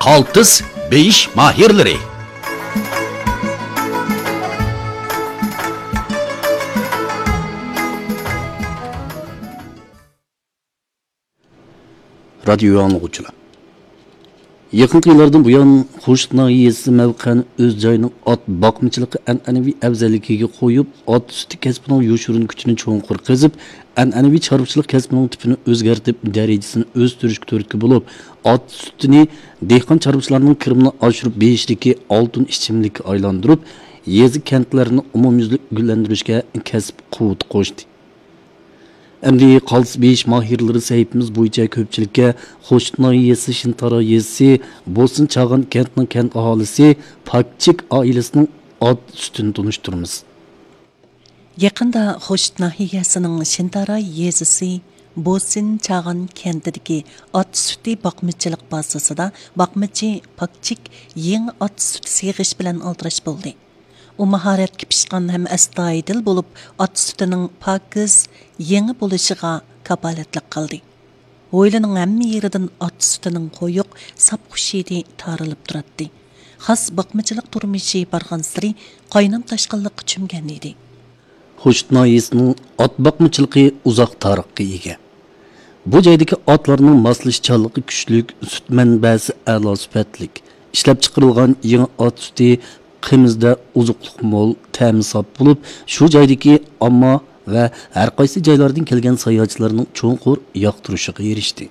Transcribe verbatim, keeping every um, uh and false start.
قالتىس بېيىش ماھىرلىرى. رادىيو ئاڭلىغۇچىلار، يېقىنقى يىللاردىن بۇيان، خوشۇت ناھىيەسى مەۋقەن ئۆز جايىنىڭ ئات باقمىچىلىقى ئەنئەنىۋى ئەۋزەللىكىگە قويۇپ، ئات سۈتى كەسپىنىڭ يوشۇرۇن كۈچىنى چوڭقۇر قېزىپ، ئەنئەنىۋى چارۋىچىلىق كەسپىنىڭ تىپىنى ئۆزگەرتىپ، دەرىجىسىنى ئۆستۈرۈشكە تۈرتكە بولۇپ، ئات سۈتىنى دېھقان چارۋىچىلارنىڭ كىرىمىنى ئاشۇرۇپ بېرىشتىكى ئالتۇن ئىچىملىككە ئايلاندۇرۇپ، يېزا، كەنتلەرنى ئومۇميۈزلۈك گۈللەندۈرۈشكە كەسىپ قۇۋۋىتى قوشتى. ئەمدى قالتىس بېيىش ماھىرلىرى سەھىپىمىز بويىچە كۆپچىلىككە خوشۇت ناھىيەسى شىنتارا يېزىسى بوسىن چاغان كەنتىنىڭ كەنت ئاھالىسى پاكچىك ئائىلىسىنىڭ ئات سۈتىنى تونۇشتۇرىمىز. يېقىندا خوشۇت ناھىيەسىنىڭ شىنتارا يېزىسى بوسىن چاغان كەنتىدىكى ئات سۈتى باقمىچىلىق بازىسىدا باقمىچى پاكچىك يېڭى ئات سۈتى سېغىش بىلەن ئالدىراش بولدى. ئۇ ماھارەتكە پىشقان ھەم ئەستايىدىل بولۇپ، ئات سۈتىنىڭ پاكىز، يېڭى بولۇشىغا كاپالەتلىك قىلدى. ھويلىنىڭ ھەممە يېرىدىن ئات سۈتىنىڭ قويۇق، ساپ خۇش ھىدى تارىلىپ تۇراتتى. خاس باقمىچىلىق تۇرمۇشى بارغانسېرى قاينام تاشقىنلىققا چۆمگەن ئىدى. خوشۇت ناھىيەسىنىڭ ئات باقمىچىلىقى ئۇزاق تارىخقا ئىگە. بۇ جايدىكى ئاتلارنىڭ ماسلىشىشچانلىقى كۈچلۈك، سۈت مەنبەسى ئەلا سۈپەتلىك. ئىشلەپچىقىرىلغان يېڭى ئات سۈتى قىمىزدا ئوزۇقلۇق مول، تەمى ساپ بولۇپ، شۇ جايدىكى ئامما ۋە ھەرقايسى جايلاردىن كەلگەن ساياھەتچىلەرنىڭ چوڭقۇر ياقتۇرۇشىغا ئېرىشتى.